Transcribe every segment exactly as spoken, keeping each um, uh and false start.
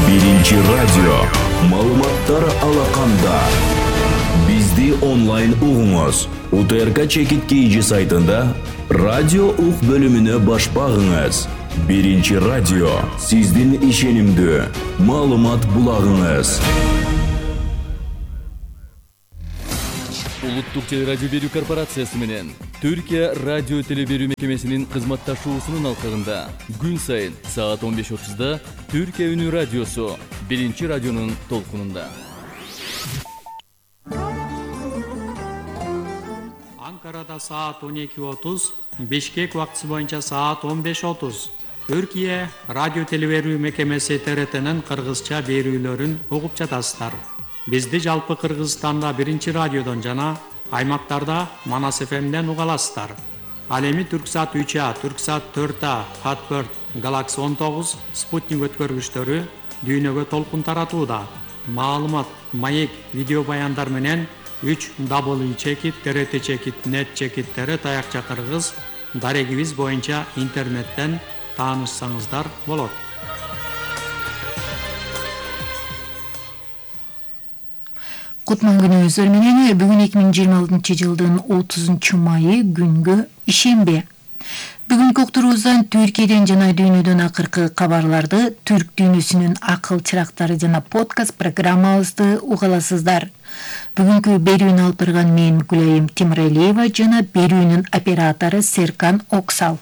Биринчи радио. Маалыматтар алаканда. Бизди онлайн угуңуз. УТРК Чекит Кейджи сайтында радио ук бөлүмүнө баш багыңыз. Биринчи радио. Сиздин ишенимдүү маалымат булагыңыз. Улуттук телерадио берүү корпорациясы менен Түркия радио телеберүү мекемесинин кызматташуусунун алкагында күн сайын саат он беш отузда Түркия үнү радиосу Биринчи радионун толкунунда. Анкарада саат он эки отуз, Бишкек убактысы боюнча саат он беш отуз. Түркия радио телеберүү мекемеси Т Р Т'нин кыргызча берүүлөрүн угуп жатасыздар. Бизди жалпы Кыргызстанда Биринчи радиодон жана аймактарда Манас эф эмден уга аласыздар. Ал эми Түрксат үч А, Түрксат төрт А, Fatbird, Galaxy он тогуз, Спутник өткөргүчтөрү дүйнөгө толкун таратууда. Маалымат, маек, видео баяндар менен үч дабл ю чекит Т Р Т чекит нет чекит Т Р таякча кыргыз дарегибиз боюнча интернеттен таанышсаңыздар болот. Кутман күнүңүздөр менен бүгүн эки миң жыйырма алтынчы жылдын отузунчу майы күнгө ишембе. Бүгүнкү уктуруубуздан Түркияден жана дүйнөдөн акыркы кабарларды, түрк дүйнөсүнүн акыл чырактары жана подкаст программабызды уга аласыздар. Бүгүнкү берүүнү алып барган мен Гүлайым Тимиралиева жана берүүнүн оператору Серкан Оксал.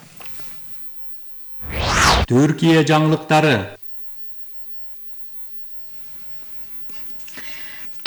Түркия жаңылыктары.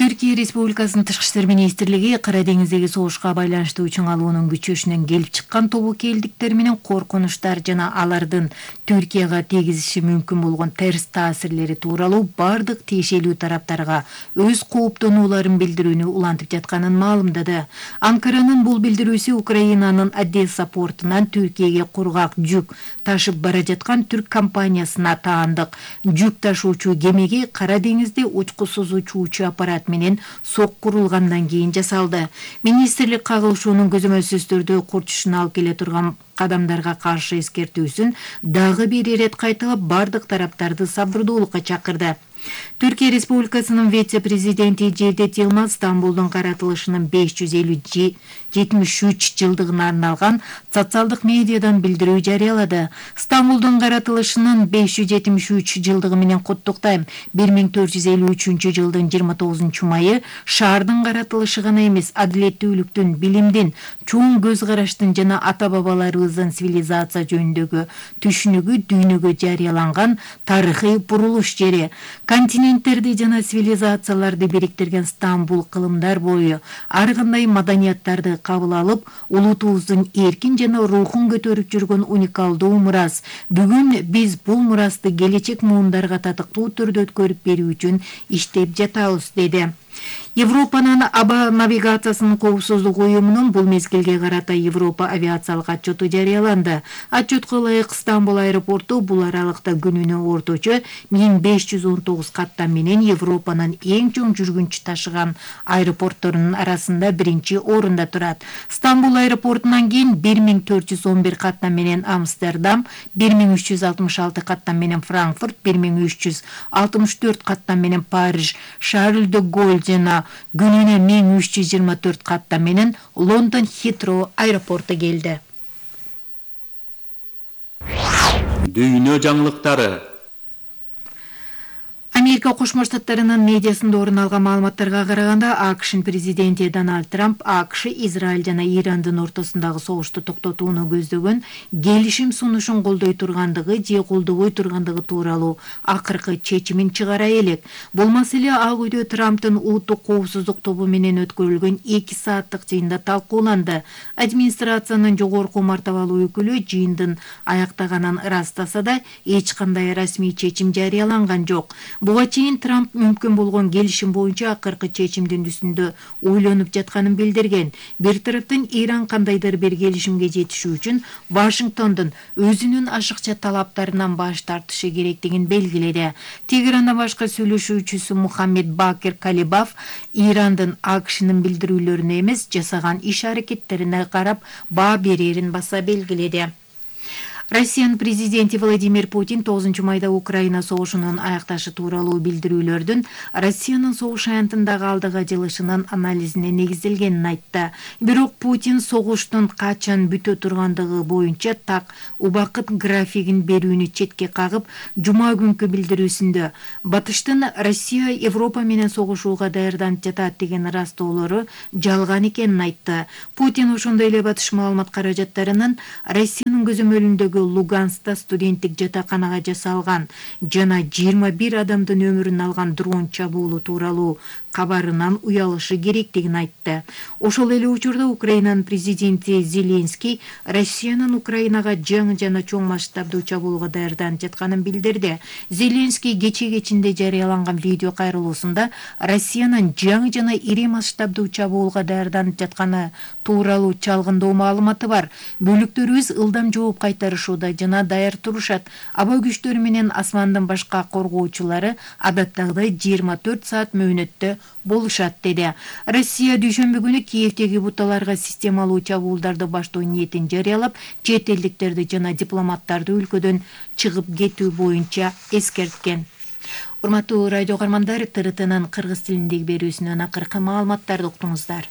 Түркия Республикасынын Тышкы иштер министрлиги Кара деңиздеги согушка байланыштуу үчүн алуунун күчөшүнөн келип чыккан тобокелдиктер менен коркунучтар жана алардын Түркияга тийгизиши мүмкүн болгон терс таасирлери тууралуу бардык тиешелүү тараптарга өз кооптонууларын билдирүүнү улантып жатканын маалымдады. Анкаранын бул билдирүүсү Украинанын Одесса портунан Түркияга кургак жүк ташып бара жаткан түрк компаниясына таандык жүк ташуучу кемеге Кара деңизде учкусуз учуучу аппарат менен соккурулгандан кийин жасалды. Министрлик кагылышуунун көзөмөлсүз түрдө курчушуна алып келе турган кадамдарга каршы эскертүүсүн дагы бир ирет кайталап бардык тараптарды сабырдуулукка чакырды. Түркия Республикасынын вице-президенти Cevdet Yılmaz Стамбулдун каратылышынын беш жүз элүү жетимиш үч жылдыгына арналган социалдык медиадан билдирүү жарыялады. Стамбулдун каратылышынын беш жүз жетимиш үч жылдыгы менен куттуктайм. бир миң төрт жүз элүү үчүнчү жылдын жыйырма тогузунчу майы шаардын каратылышы гана эмес, адилеттүүлүктүн, билимдин, чоң көз караштын жана ата-бабаларыбыздын цивилизация жөнүндөгү түшүнүгү дүйнөгө жарыяланган тарыхый бурулуш жери. Континенттерди жана цивилизацияларды бириктирген Стамбул кылымдар бою ар кандай маданияттарды кабыл алып, улутубуздун эркин жана рухун көтөрүп жүргөн уникалдуу мурас. Бүгүн биз бул мурасты келечек муундарга татыктуу түрдө өткөрүп берүү үчүн иштеп жатабыз, деди. Европанын аба навигациясынын коопсуздук уюмунун бул мезгилге карата Европа авиациялык отчету жарыяланды. Отчетко ылайык Стамбул аэропорту бул аралыкта күнүнө орточо миң беш жүз он тогуз каттам менен Европанын эң чоң жүргүнчү ташыган аэропортторунун арасында биринчи орунда турат. Стамбул аэропортунан кийин бир миң төрт жүз он бир каттам менен Амстердам, бир миң үч жүз алтымыш алты каттам менен Франкфурт, бир миң үч жүз алтымыш төрт каттам менен Париж, Шарль де Голль жана күнүнө миң үч жүз жыйырма төрт каттам менен Лондон Хитроу аэропорту келди. Дүйнө жаңылыктары. Америка Кошмо Штаттарынын медиасында орун алган маалыматтарга караганда, АКШнын президенти Дональд Трамп АКШ Израиль жана Ирандын ортосундагы согушту токтотууну көздөгөн келишим сунушун колдой тургандыгы же колдобой тургандыгы тууралуу акыркы чечимин чыгара элек. Бул маселе Ак үйдө Трамптын улуттук коопсуздук тобу менен өткөрүлгөн эки сааттык жыйында талкууланды. Администрациянын жогорку мартабалуу өкүлү жыйындын аяктаганын ырастаса да, эч кандай расмий чечим жарыяланган жок. Буга чейин Трамп мүмкүн болгон келишим боюнча акыркы чечимдин үстүндө ойлонуп жатканын билдирген. Бир тараптан Иран кандайдыр бир келишимге жетишүү үчүн Вашингтондун өзүнүн ашыкча талаптарынан баш тартышы керектигин белгиледи. Тегеранда башка сүйлөшүүчүсү Мухаммед Бакир Калибаф Ирандын АКШнын билдирүүлөрүнө эмес, жасаган иш аракеттерине карап баа берерин баса белгиледи. Россиянын президенти Владимир Путин тогузунчу майда Украина согушунун аякташы тууралуу билдирүүлөрдүн Россиянын согуш аянтындагы алдыга жылышынын анализине негизделгенин айтты. Бирок Путин согуштун качан бүтө тургандыгы боюнча так убакыт графигин берүүнү четке кагып, жума күнкү билдирүүсүндө батыштын Россия Европа менен согушууга даярданып жатат деген ырастоолору жалган экенин айтты. Путин ошондой эле батыш маалымат каражаттарынын Россиянын көзөмөлүндөгү Луганскта студенттик жатаканага жасалган жана жыйырма бир адамдын өмүрүн алган дрон чабуулу тууралуу кабарынан уялышы керектигин айтты. Ошол эле учурда Украинанын президенти Зеленский Россиянын Украинага жаңы жана чоң масштабдуу чабуулга даярданып жатканын билдирди. Зеленский кече кечинде жарыяланган видео кайрылуусунда Россиянын жаңы жана ири масштабдуу чабуулга даярданып жатканы тууралуу чалгындоо маалыматы бар. Бөлүктөрүбүз ылдам жооп кайтарышууда жана даяр турушат. Аба күчтөрү менен асмандын башка коргоочулары адаттагыдай жыйырма төрт саат мөөнөттө болушат деди. Россия дүйшөмбү күнү Киевдеги буталарга системалуу чабуулдарды баштоо ниетин жарыялап, чет элдиктерди жана дипломаттарды өлкөдөн чыгып кетүү боюнча эскерткен. Урматтуу радио каармандар, Т Р Тнын кыргыз тилиндеги берүүсүнөн акыркы маалыматтарды уктуңуздар.